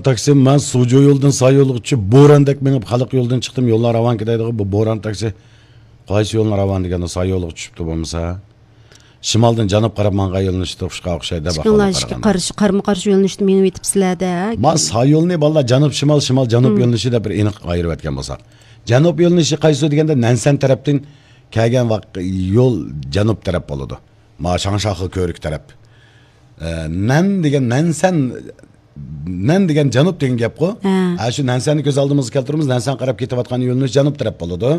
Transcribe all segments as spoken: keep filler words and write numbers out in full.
تاكسى، مەن سۇجۇ يولىدىن ساي يولغا چۈشۈپ، بوراندەك مېڭىپ، خەلق يولىدىن چىقتىم، يوللار راۋانكى دەيدىغۇ، بۇ بوران تاكسى قايسى يولنى راۋان دېگەندە، ساي يولغا چۈشۈپتۇ بولمىسا. شىمالدىن جەنۇبقا قاراپ ماڭغان يولنى تۇتۇشقا ئوخشايدۇ، ئىككىڭلار ئىككى قارىشى، قارىمۇ قارشى يولنى تۇتۇپ مېڭىۋېتىپسىلەر-دە. ما ساي يولنى، بالىلار، جەنۇب شىمال، شىمال جەنۇب يۆنىلىشى دەپ بىر ئېنىق ئايرىۋەتكەن بولساق. جەنۇب يۆنىلىشى قايسى دېگەندە، نەنسەن تەرەپتىن كەلگەن ۋاق-، يول جەنۇب تەرەپ بولىدۇ. ما شاڭشاخې كۆۋرۈك تەرەپ. ئە، نەن دېگەن، نەنسەن، نەن دېگەن جەنۇب دېگەن گەپقۇ. ھە. ھە، شۇ نەنسەننى كۆز ئالدىمىزغا كەلتۈرىمىز، نەنسەن قاراپ كېتىۋاتقان يۆنىلىش جەنۇب تەرەپ بولىدۇ.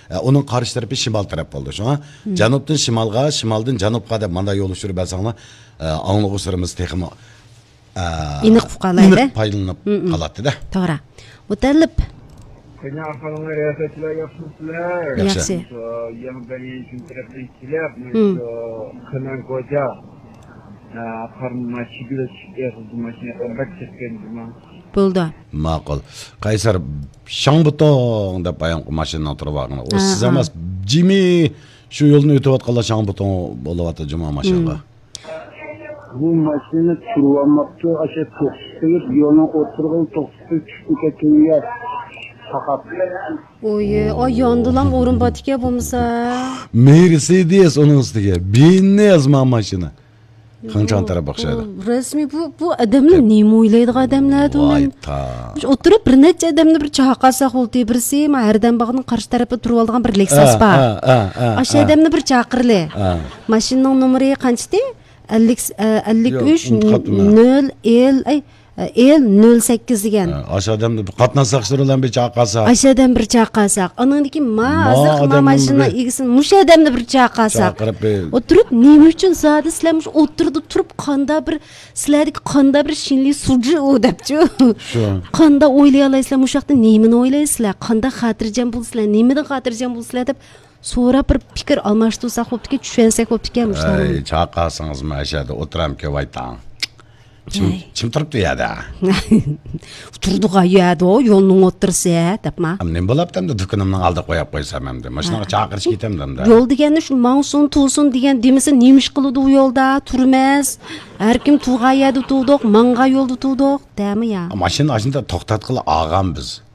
ئە، ئۇنىڭ قارشى تەرىپى شىمال تەرەپ بولىدۇ. شۇڭا جەنۇبتىن شىمالغا، شىمالدىن جەنۇبقا دەپ مانداق يول ئۇچۇرى بەرسەڭلار، ئە، ئاڭلىغۇچىلىرىمىز تېخىمۇ، ئە، ئېنىق ئۇقالايدۇ. ئېنىق پايدىلىنىپ قالاتتى-دە. توغرا. مۇتەللىپ. قېنى ئاخىرىڭلار، رىياسەتچىلەر ياخشىمۇسىلەر؟ ياخشى. ياخشى. شۇ يېڭى بەلگىلىگەن تەرەپتىن كېلىپ، مم، شۇ قېنەن كوچا، ئە، قارنىما چىگىلىش ئېغىزى ماشىنا بەك چەككەن جۇما. بولدى. ماقۇل. قەيسەر، شاڭبۇتۇڭ دەپ بايامقى ماشىنىنىڭ تۇرۇۋالغىنى. ئۇ ھە، سىز ھە. ئەمەس، جىمى شۇ يولدىن ئۆتۈۋاتقانلار شاڭبۇتۇڭ بولۇۋاتىدۇ جۇما ماشىنىغا. مم. بۇ ماشىنا تۇرۇۋالماپتۇ، ئاشۇ توختىتىپ، يولنىڭ ئوتتۇرىغا توختىتىپ چۈشۈپ كەتكەن يەر. ساقاپ. ئوي، ئاي، ياندىلام ئورۇن بار ئىكەن بولمىسا. مېرسېدېس ئۇنىڭ ئۈستىگە. بېنز ما ماشىنا. خېڭچاڭ تەرەپ ئوخشايدۇ. بۇ رەسمىي بۇ، بۇ ئادەملەر نېمە ئويلايدىغان ئادەملەردۇ؟ ۋاي تا. شۇ ئولتۇرۇپ بىر نەچچە ئادەمنى بىر چاقىرساق بولدى. بىرسى ما ھەردەم باغنىڭ قارشى تەرىپىدە تۇرۇۋالىدىغان بىر لېكساس بار. ئاشۇ ئادەمنى بىر چاقىرلى. ماشىنىنىڭ نومۇرى قانچىدى؟ ئەللىك، ئە، ئەللىك ئۈچ، ياق، ئۇنتۇپ قاپتىمەن. نۆل، ئېل، ئەي، ئېل نۆل سەككىز دېگەن. ھە، ئاشۇ ئادەمنى بىر قاتناش ساقچىلىرى بىلەن بىر چاقىرساق. ئاشۇ ئادەم بىر چاقىرساق. ئانىڭدىكى ما ما ھازىرقى ما ئادەمنىڭ ماشىنا بىر ئىگىسىنى مۇشۇ ئادەمنى بىر چاقىرساق. چاقىرىپ بىر ئولتۇرۇپ، نېمە ئۈچۈن زادى سىلەر مۇشۇ ئولتۇرىدا تۇرۇپ، قاندا بىر، سىلەردىكى قاندا بىر شىنلى سۇجۇ دەپچۇ. شۇ. قاندا ئويلىيالايسىلەر، مۇشۇ ھەقتە نېمىنى ئويلايسىلەر؟ قاندا خاتىرجەم بولىسىلەر؟ نېمىدىن خاتىرجەم بولىسىلەر دەپ سوراپ بىر پىكىر ئالماشتۇرساق بوپتىكەن، چۈشەنسەك بوپتىكەن مۇشۇلارنى. ئەي، چاقىرسىڭىزمۇ ئەشەدە ئولتۇرامكەن ۋايتاڭ. چىم، ئەي. چىم تۇرۇپتۇ يەردە. تۇرىدىغان يەردە يولنىڭ ئوتتۇرىسى، دەپما. نېمە بولاپتۇ ئەمدى دۇكىنىمنىڭ ئالدىغا قويۇپ قويسام ئەمدى. ماشىنىغا ھە. چاقىرىش كېتەمدۇ ئەمدى. يول دېگەننى شۇ ماڭسۇن، تۇرسۇن دېگەن دېمىسە نېمە ئىش قىلىدۇ ئۇ يولدا؟ تۇرماس. ھەر كىم تۇرغان يەردە تۇردۇق، ماڭغان يولدا تۇردۇق، دەمە يا. ماشىنا ئاشۇنداق توختاتقىلى ئالغان بىز.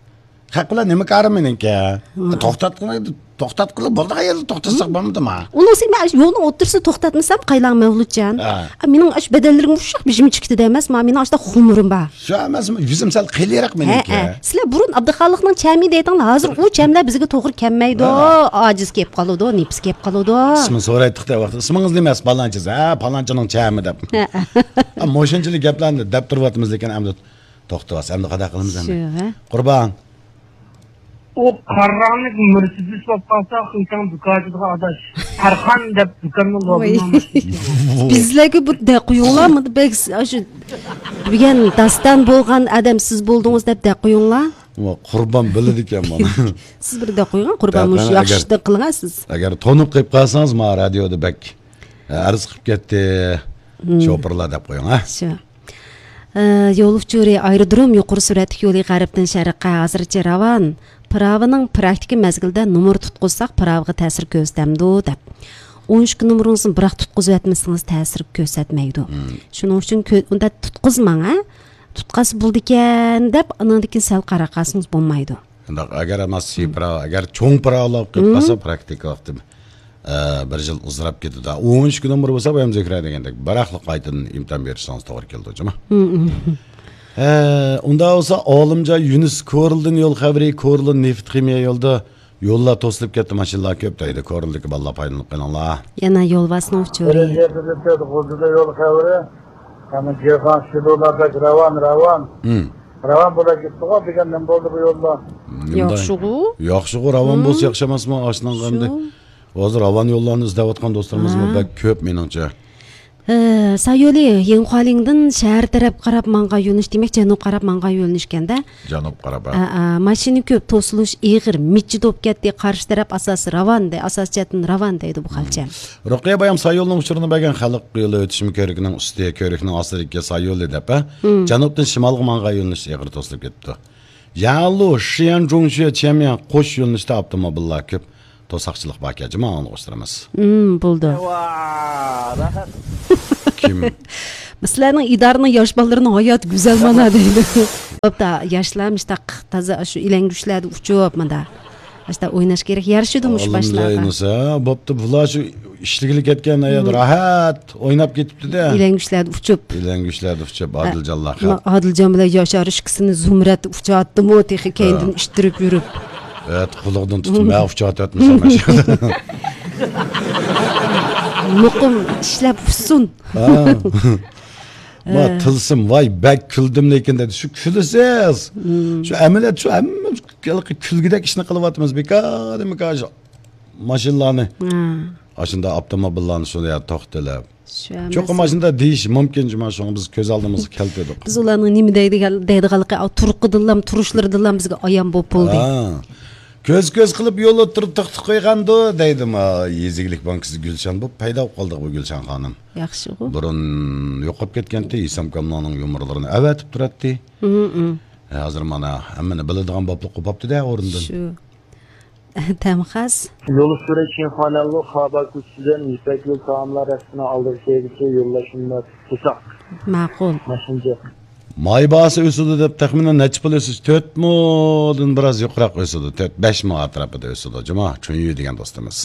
خەق بىلەن نېمە كارى مېنىڭكى؟ ھە. توختاتقىلى، توختاتقىلى بولىدىغان يەردە توختاتساق بولمىدىما؟ ئۇنىڭ ئۈچۈن مەن يولنىڭ ئوتتۇرىسىدا توختاتمىسام، قايلاڭ مەۋلۇتجان. ھە. ئا، مېنىڭ ئاشۇ بەدەنلىرىم ئۇششاق بېشىم چىقتى دەمەس، ما مېنىڭ ئاشۇنداق خۇمۇرۇم بار. شۇ ئەمەس، يۈزۈم سەل قېلىراق ھە، مېنىڭكى. ھە. سىلەر بۇرۇن ئابدۇخالىقنىڭ چەمى دەيتىڭلار، ھازىر ئۇ چەملەر بىزگە توغرا كەلمەيدۇ، ھە. ئاجىز كېلىپ قالىدۇ، نېپىس كېلىپ قالىدۇ. ئىسمىنى سورايتتۇق دە ۋاقتىدا، ئىسمىڭىز نېمە؟ پالانچىسى، ھە، پالانچىنىڭ چەمى دەپ. ھە. ئا، مۇشۇنچىلىك گەپلەرنى دەپ تۇرۇۋاتىمىز، لېكىن ئەمدى توختىۋاس، ئەمدى قانداق قىلىمىز ئەمدى؟ شۇ، ھە. قۇربان. ئۇ قاراڭلىق مېرسېدېس بولۇپ قالسا، خېڭچاڭ دۇكان ئاچىدىغان ئاداش. تارخان دەپ دۇكاننىڭ ۋاي. لوگوسىنى ئالماشتۇرسۇن. بىزلەرگە بىر دەق قويۇڭلار، مۇنداق بەك ئاشۇ بۈگۈن داستان بولغان ئادەم سىز بولدىڭىز دەپ دەق قويۇڭلار. ۋا، قۇربان بىلىدىكەن مانا. سىز بىر دەق قويغان، قۇربان دەق مۇشۇ قويغان، ياخشى ئەگەر، دەق قىلىڭا سىز. ئەگەر تونۇپ قېلىپ قالسىڭىز، ما رادىيودا بەك، ئە، ئەرز قىلىپ كەتتى. مم. شوپۇرلار دەپ قويۇڭ، ھە؟ شۇ. ئە، يول ئۇچۇرى ئايرودروم يۇقىرى سۈرئەتلىك يولى غەربتىن شەرققە ھازىرچە راۋان. پىراۋىنىڭ پراكتىكا مەزگىلىدە نومۇر تۇتقۇزساق، پىراۋىغا تەسىر كۆرسىتەمدۇ؟ دەپ. ئون ئىككى نومۇرىڭىزنى بىراق تۇتقۇزۇۋەتمىسىڭىز تەسىر كۆرسەتمەيدۇ. مم. شۇنىڭ ئۈچۈن كۆ-، ئۇنداق تۇتقۇزماڭ، ھە؟ تۇتقازسا بولىدىكەن دەپ، ئانىڭدىن كېيىن سەل قاراپ قالسىڭىز بولمايدۇ. شۇنداق، ئەگەر ئەمما سىي پىراۋا، ئەگەر چوڭ پىراۋىلار كۆپ قالسا، پراكتىكا ۋاقتى، ئە، بىر يىل ئۇزىراپ كېتىدۇ. ئون ئۈچ نومۇر بولسا، بايام زۆھرە دېگەندەك، بىراقلا قايتىدىن ئىمتىھان بېرىشىڭىز توغرا كېلىدۇ، جۇما. ھە، ئۇنداق بولسا، ئالىمجان يۈنۈس كورلىدىن يول خەۋىرى، كورلا نېفىت خىمىيە يولىدا يوللار توسۇلۇپ كەتتى، ماشىنىلار كۆپ دەيدۇ. كورلىدىكى بالىلار پايدىلىنىپ قېلىڭلار. يەنە يولۋاسنىڭ ئۇچۇرى. غۇلجىدا يول خەۋىرى. ئەنە جېخان شىلۇلار بەك راۋان، راۋان. ھىم. راۋان بولا كېتىدىغۇ دېگەن نېمە بولدى بۇ يوللار؟ نېمە ياخشىغۇ؟ ياخشىغۇ، راۋان بولسا ياخشى ئەمەسمۇ؟ ئاشۇنىڭغا ئەمدى ھازىر راۋان يوللارنى ئىزدەۋاتقان دوستلىرىمىزمۇ بەك كۆپ مېنىڭچە. ئە، سايولى يىڭخۇالىڭدىن شەھەر تەرەپ قاراپ ماڭغان يۆنىلىش، دېمەك، جەنۇب قاراپ ماڭغان يۆنىلىشكەندە. جەنۇب قاراپ، ھە. ئە، ئە، ماشىنا كۆپ، توسۇلۇش ئېغىر، مىججىت بولۇپ كەتتى، قارشى تەرەپ ئاساسىي راۋان دەي، ئاساسىي جەھەتتىن راۋان دەيدۇ بۇ خەلچە. رۇقىيە بايام سايولنىڭ ئۇچۇرىنى بەرگەن، خەلق يولى ئۆتۈشمە كۆۋرۈكىنىڭ ئۈستى، كۆۋرۈكنىڭ ئاستىدىكى سايولى دەپ، ھە؟ جەنۇبتىن شىمالغا ماڭغان يۆنىلىش ئېغىر توسۇلۇپ كېتىپتۇ. يەنلۇ، شيەنجۇڭشۈ، چيەنميەن قوش يۆنىلىشتە ئاپتوموبىللار كۆپ. توساقچىلىق باركەن، جۇما ئاڭلىغۇچىلىرىمىز. ھىم، بولدى. ۋا، راھەت. كىم؟ سىلەرنىڭ ئىدارىنىڭ ياش بالىلىرىنىڭ ھاياتى گۈزەل مانا دەيدۇ. بوپتۇ، ياشلار مۇشتاق تازا شۇ ئىلەڭگۈچلەردە ئۇچۇپ مانا. مۇشتاق ئويناش كېرەك. يارىشىدۇ مۇشۇ باشلارغا. ھە، بوپتۇ، بۇلار شۇ ئىشلىگىلى كەتكەن ھايات، ھىم، راھەت ئويناپ كېتىپتۇ-دە. ئىلەڭگۈچلەردە ئۇچۇپ. ئىلەڭگۈچلەردە ئۇچۇپ، ھە، ئادىلجانلار. ما-، ئادىلجان بىلەن ياشار ئىككىسىنى زۇمرەت ئۇچاتتىمۇ، تېخى كەينىدىن ھە. ئىتتىرىپ يۈرۈپ. ھە، قۇلىقىدىن تۇتۇپ، مەن ئۇچاتتىم، سەن مانا شۇ. مۇقىم ئىشلەپ ئۇچسۇن. ھە. ۋاي، ھە. تىلسىم، ۋاي، بەك كۈلدۈم لېكىن دېدى. شۇ كۈلىسىز. ھىم. شۇ ئەمەلىيەت، شۇ ھەممە كۈلگۈدەك ئىشنى قىلىۋاتىمىز. بىكاردىن بىكار شۇ ماشىنىلارنى. ھە. ئاشۇنداق ئاپتوموبىللارنى شۇ يەردە توختىلىپ. شۇ ئەمەس. چوقۇم ئاشۇنداق دېيىشى مۇمكىن، جۇما، شۇڭا بىز كۆز ئالدىمىزغا كەلتۈردۇق. بىز ئۇلارنىڭ نېمە دەيدىغان، دەيدىغانلىقى، ئا، تۇرقىدىنلام، تۇرۇشلىرىدىنلام بىزگە ئايان بولۇپ بولدى. ھە. كۆز-كۆز قىلىپ يول ئوتتۇرىدا توختىتىپ قويغاندۇ، دەيدۇ، ما، يېزا ئىگىلىك بانكىسىدا گۈلشەن بولۇپ پەيدا بولۇپ قالدىغۇ بۇ گۈلشەن خانىم. ياخشىغۇ. بۇرۇن يوقاپ كەتكەنتى، ھېسام كاملانىڭ يۇمۇرلىرىنى ئەۋەتىپ تۇراتتى. ھىم، ھىم. ھە، ھازىر مانا ھەممىنى بىلىدىغان بوپلا قوپاپتۇ-دە ئورنىدىن. شۇ. تەمخەس. يول ئۈستىدە چىڭخانەللۇ خابا كوچىسىدىن يىپەك يول تائاملار رەستىسىنىڭ ئالدىغا كەلگۈچە يوللاشماق توساق. ماقۇل. ماشىنىچە. ماي باھاسى ئۆسىدۇ دەپ تەخمىنەن نەچچە پۇل ئۆسۈش؟ تۆت مودىن بىراز يۇقىرىراق ئۆسىدۇ. تۆت، بەش مو ئەتراپىدا ئۆسىدۇ. جۇما، چۈنيۈ دېگەن دوستىمىز.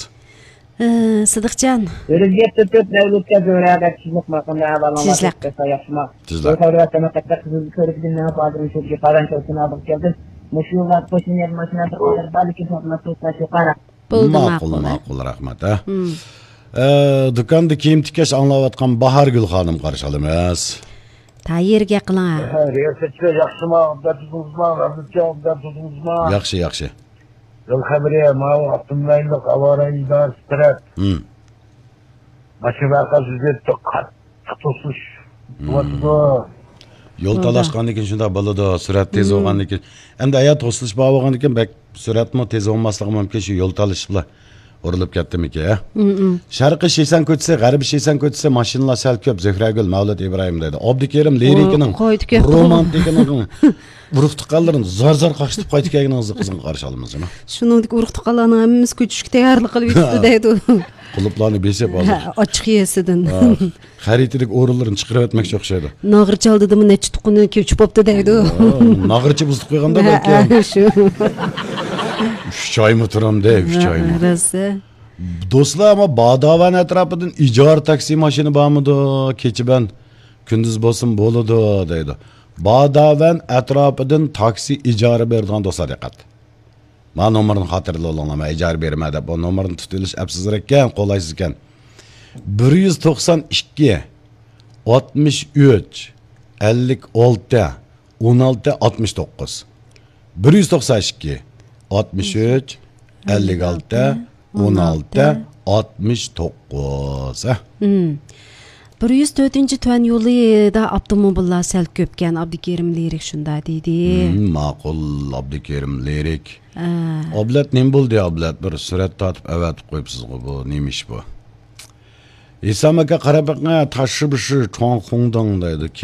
ئى، سىدىقجان. ئۆرۈزگە تۆت دەۋلەتكە زۆرەدە تىزلىق ماقىمدا ئەۋالان تىزلىق. ياخشىما. تىزلىق. بۇ سەۋەبىدىن قەتئىي قىزىل كۆرۈكىدىن مېڭىپ ھازىر شۇ جىقاران چوقۇنى ئالدىغا كەلدىم. مۇشۇ يوللار قوشنا يەر ماشىنىلاردا ئادەم بارلىكى ساتماس توستا شۇقارا. بولدى، ماقۇل، ماقۇل. ماقۇل، رەھمەت، ھە. ھىم. ئە، دۇكاندا كىيىم تىكەش ئاڭلاۋاتقان باھارگۈل خانىم قارشى ئالىمىز. تايىر گەپ قىلىڭ، ھە. ھە، رىياسەتچى ياخشىما، ئابدۇللا تۇزۇڭىزما، رازىچى ئابدۇللا تۇزۇڭىزما؟ ياخشى، ياخشى. يول خەۋىرى، ماۋۇ ئاپتوموبىل ئاۋارە ئىدارىسى تەرەپ. ھىم. ماشىنا ۋەقەسى يۈز يەتتە قاتتىق توسۇش ھىم. بولۇۋاتىدۇ. يول تالاشقاندىن كېيىن شۇنداق بولىدۇ. سۈرئەت تېز ھىم. بولغاندىن كېيىن. ئەمدى ھايات توسۇلۇش بار بولغاندىن كېيىن بەك سۈرئەتمۇ تېز بولماسلىقى مۇمكىن، شۇ يول تالىشىش بىلەن ئۇرۇلۇپ كەتتىمىكىن، ھە؟ ھىم، ھىم. شەرقىي شىسەن كوچىسى، غەربىي شىسەن كوچىسى ماشىنىلار سەل كۆپ، زۆھرەگۈل، مەۋلۇت ئىبراھىم دەيدۇ. ئابدۇكېرىم لىرىكىنىڭ، قويدى كۆپ. رومانتىكىنىڭ ئۇرۇق تۇغقانلىرىنى زار-زار قاقشىتىپ قايتىپ كەلگىنىڭىزنى قىزغىن قارشى ئالىمىز، جۇما. شۇنىڭدىكى ئۇرۇق تۇغقانلارنىڭ ھەممىسى كۆچۈشكە تەييارلىق قىلىۋېتىپتۇ دەيدۇ. قۇلۇپلارنى بېسىپ ھازىر. ھە، ئاچچىق يېسىدىن. ھە، خەرىتىدىكى ئورۇنلىرىنى چىقىرىۋەتمەكچى ئوخشايدۇ. ناغرىچى ئالدىدىمۇ نەچچە تۇغقىنى كۆچۈپ بوپتۇ دەيدۇ. ھە، ناغرىچى بۇزۇپ قويغاندا ھە، بەلكىم. ھە، شۇ. ئۈچ ئايمۇ تۇرامدۇ، ئۈچ ھە، ئايمۇ. راست. دوستلار، ئەمما باداۋەن ئەتراپىدىن ئىجارە تاكسى ماشىنا بارمىدۇ؟ كېچە بىلەن كۈندۈز بولسىمۇ بولىدۇ دەيدۇ. باداۋەن ئەتراپىدىن تاكسى ئىجارە بېرىدىغان دوستلار دىققەت. مانا نومۇرنى خاتىرىلەپ ئالىڭلار، مەن ئىجارە بېرىمەن دەپ، بۇ نومۇرنى تۇتۇۋېلىش ئەپسىزرەككەن، قولايسىزكەن. بىر يۈز توقسان ئىككى، ئاتمىش ئۈچ، ئەللىك ئالتە، ئون ئالتە، ئاتمىش توققۇز. بىر يۈز توقسان ئىككى، ئاتمىش ئۈچ، ئەللىك ئالتە، ئون ئالتە، ئاتمىش توققۇز. ھە؟ ھىم. بىر يۈز تۆتىنچى تۈەن يولىدا ئاپتوموبىللار سەل كۆپكەن، ئابدۇكېرىم لىرىك شۇنداق دېدى. ھىم، ماقۇل، ئابدۇكېرىم لىرىك. ھە. ئابلەت نېمە بولدى، ئابلەت؟ بىر سۈرەت تارتىپ ئەۋەتىپ قويۇپسىزغۇ، بۇ نېمە ئىش بۇ؟ ھېسام ئاكا، قاراپ بېقىڭ، تاششىبىشى چوڭخۇڭداڭ دەيدۇ. كىم